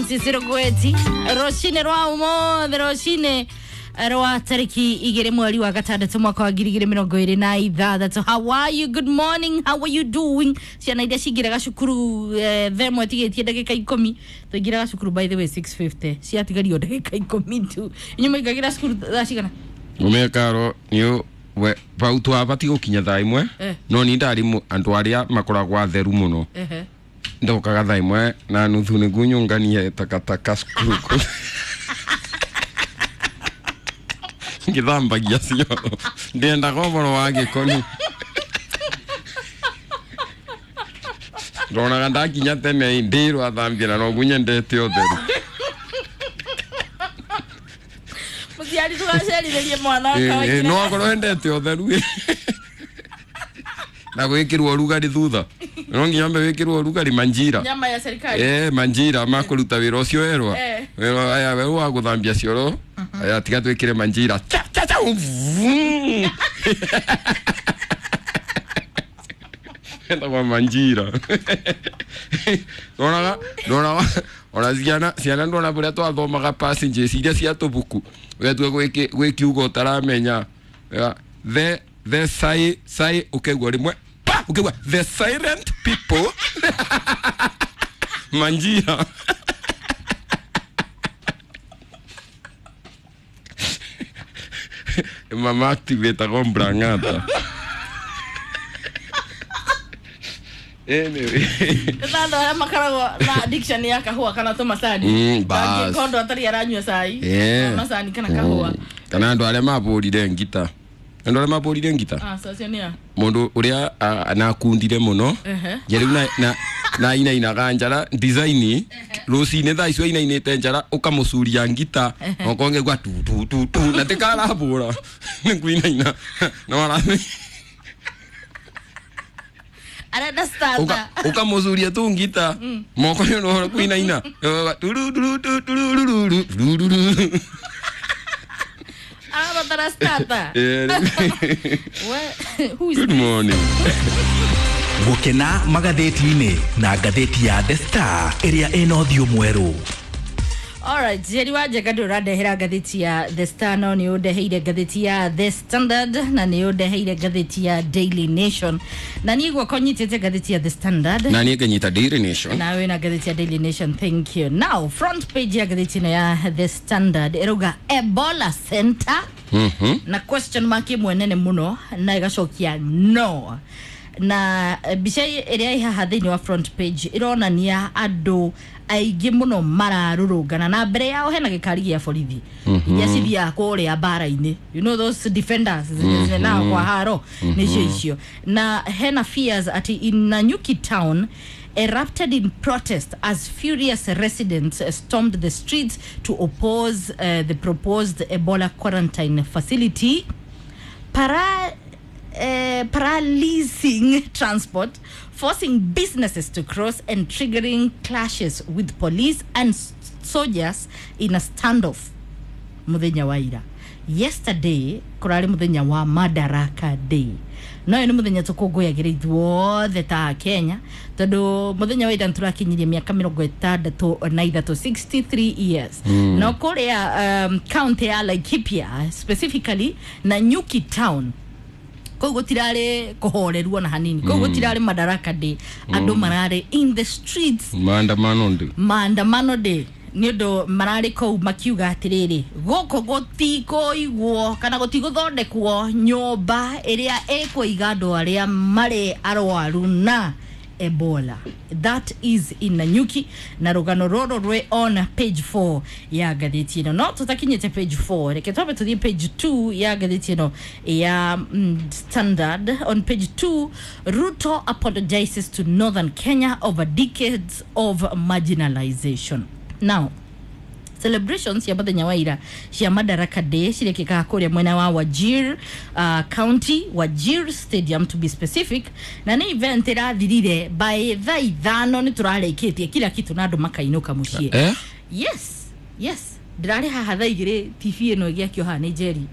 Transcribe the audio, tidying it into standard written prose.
Francis Rugweti rũcinĩ rwa ũmũthĩ, rũcinĩ rwa tarĩki 2 mweri wa 6 mwaka wa 2026. How are you? Good morning, how are you doing? Ciana iria cingĩraga cukuru thaa 1 tigĩtie ndagĩka 10, tũingĩraga cukuru by the way 6:50, ciatigario ndagĩka 10 tu. Inyuĩ mũingagĩra cukuru thaa cigana? Umekaro ni we vau twabati gukinya thaa 1. No ni ndari andu aria makoragwo atheru muno. Ndokaga thaa 1:30 niguo nyũnganie takataka cukuru ngĩthambagia cioro, ndiendaga ũhoro wa gĩko, ndonaga ndakinya tene ndĩrwo athambia na noguo nyendete ũtheru. Mũciari tũgacerithĩrie mwana. No akorwo endete ũtheru na gwĩkĩrwo ũrugarĩ thutha, no nginya ambe wĩkĩrwo ũrugarĩ manjira. Nyama ya serikali. Manjira ma kũruta wĩra ũcio werwa wĩra aya we wa gũthambia cioro, aya tiga twĩkĩre manjira cha cha cha vum. Etagwo manjira. Ndonaga ndonaga ona ciana ndona bũrĩa twathomaga passages iria cia tũbuku, ũgatua gwĩ kiugo ũtaramenya, the sai sai, ũkaigua rĩmwe pa, ũkaigua the silent people manjira. Mama activate mbrangata. Anyway. Na andũ arĩa makoragwo na addiction ya kahũa kana tũmacani. Bas. Angĩkorwo atarĩ aranyua cai, macani kana kahũa. Kana andũ arĩa mabũrire ngita. Andũ arĩa mabũrire ngita. Ah, so acio nĩa? Mũndũ ũrĩa anakundire mũno. Nje rĩu na inainaga njara design rũcinĩ thaa icio ainainĩte njara ũkamũcuria ngita okonge gwa tu tu tu tu na tikarabũra nĩ kuinaina no arathi Arenda starter. Ukamucuria tu ngita moko nĩ ũhoro kuinaina turu turu turu turu turu turu. Arabatara starter. Who is Good morning. Gũkena magathĩti-inĩ na ngathĩti ya The Star ĩrĩa ĩna ũthiũ mwerũ. Alright, Jerry wa Njega ndå ũrandehera ngathĩti ya The Star, no nĩ ũndeheire ngathĩti ya The Standard na nĩ ũndeheire ngathĩti ya Daily Nation, na niĩ gwakwa nyitĩte ngathĩti ya The Standard na niĩ ngĩnyita Daily Nation. Na wĩna ngathĩti ya Daily Nation, thank you. Now front page ya ngathĩti ĩno ya The Standard ĩrauga Ebola Center na question mark ĩmwe nene mũno na ĩgacokia no, na mbica ĩrĩa ĩ haha thĩinĩ wa front page ĩronania andũ aingĩ mũno mararũrũngana na mbere yao hena gĩkari gĩa borithi iria cithiaga kũrĩa mbara-inĩ, you know those defenders zinenaga kwa haro nĩcio icio, na hena fears ati in Nanyuki town erupted in protest as furious residents stormed the streets to oppose the proposed Ebola quarantine facility, paralyzing transport, forcing businesses to cross and triggering clashes with police and soldiers in a standoff. Muthenya wa ira. Yesterday, kurari muthenya wa Madaraka Day. No nĩ muthenya tũkũngũyagĩra ithuothe ta Kenya, tondũ muthenya wa ira nĩtũrakinyirie mĩaka 63, 63 years. No kũrĩa county ya Laikipia, specifically Nanyuki town, kũu gũtirarĩ kũhoreruo na hanini, kũu gũtirarĩ Madaraka Day, andũ mararĩ in the streets. Maandamano day. Maandamano day nĩ ũndũ mararĩ kũu makiuga atĩrĩrĩ, gũkũ gũtikũigwo kana gũtigũthondekwo nyũmba ĩrĩa ĩkũiga andũ arĩa marĩ arwaru na Ebola. That is in Nanyuki, na rũgano rũrũ rwĩ on page 4 ya ngathĩti ĩno. No tũtakinyĩte page 4, reke twambe tũthiĩ page 2 ya ngathĩti ĩno ya Standard. On page 2, Ruto apologizes to Northern Kenya over decades of marginalization. Now, celebrations cia muthenya wa ira cia Madaraka Day cirekĩkaga kũrĩa mwena wa Wajir County, Wajir Stadium to be specific, na nĩ event ĩrathirire by thaa 5 nĩ tũrarĩkĩtie kila kitu na andũ makainũka mũciĩ. Yes, yes, ndĩrarĩ haha thaa 2 TV ĩno ĩgĩakio haha nĩ Jerry.